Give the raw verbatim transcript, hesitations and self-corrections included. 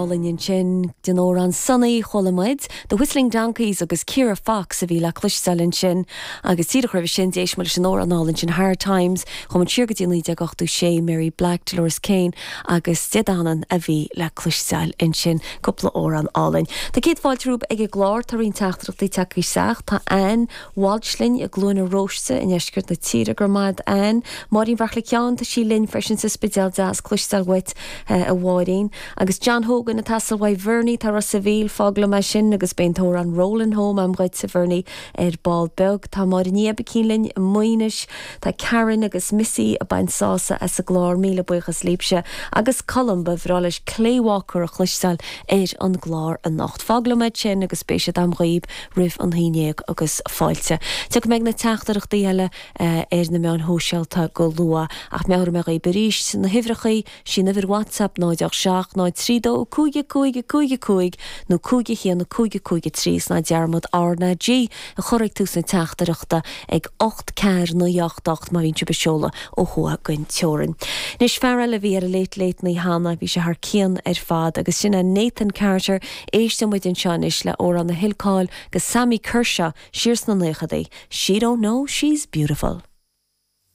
Álainn ansin den amhrán Sonny chuala muid, The Whistling Donkeys agus Ciara Fox a bhí le cloisteáil ansin agus díreach roimhe sin d'éist muid leis an amhrán álainn sin Hard Times chuaigh muid siar go dtí naoi déag ochtó sé Mary Black, Dolores Keane agus De Danann a bhí le cloisteáil ansin cúpla amhrán álainn. Tá céad fáilte romhaibh ag an gclár tá roinnt teachtaireachtaí tagtha isteach tá Ann Walsh linn i gCluain na Róiste i ndeisceart na tíre go raibh maith agat Ann, Máirín Bheartla Ceann tá sí linn freisin sa Spidéal deas cloisteáil uait a Mháirín agus John Hogan atá sa Mhaigh Bhirní tá Ros an Mhíl fág liom é sin agus beidh an t-amhrán Rollin' Home agam dhuit a Bhernie ar ball beag tá Máire Ní Oibicín linn i Maínis tá Karen agus Missy ag baint sásamh as an gclár míle buíochas libhse agus Colm ba bhreá leis Clay Walker a chloisteáil ar an gclár anocht. Fág liom é sin agus beidh sé agam dhaoibh roimh an haon déag agus fáilte. Tiocfaidh mé ag na teachtaireachtaí eile ar na meáin shóisialta go luath ach meabhróidh mé dhaoibh arís na huimhreacha sí an uimhir WhatsApp náid ocht seacht náid trí dó cúig a cúig a cúig a cúig nó cúig a haon a cúig a cúig a trí is ná dearmad R ná G a chur ag tús na teachtaireachta ag ocht ceathair naoi ocht ocht má bhíonn sibh ag seoladh ó thuaidh den teorainn. Anois fear eile a bhí ar an Late Late na cheana bhí sé thar cionn ar fad agus sin é Nathan Carter éisteann muid anseo anois le amhrán a thuill cáil do Sammy Kershaw siar sna naochadaí. She don't know she's beautiful.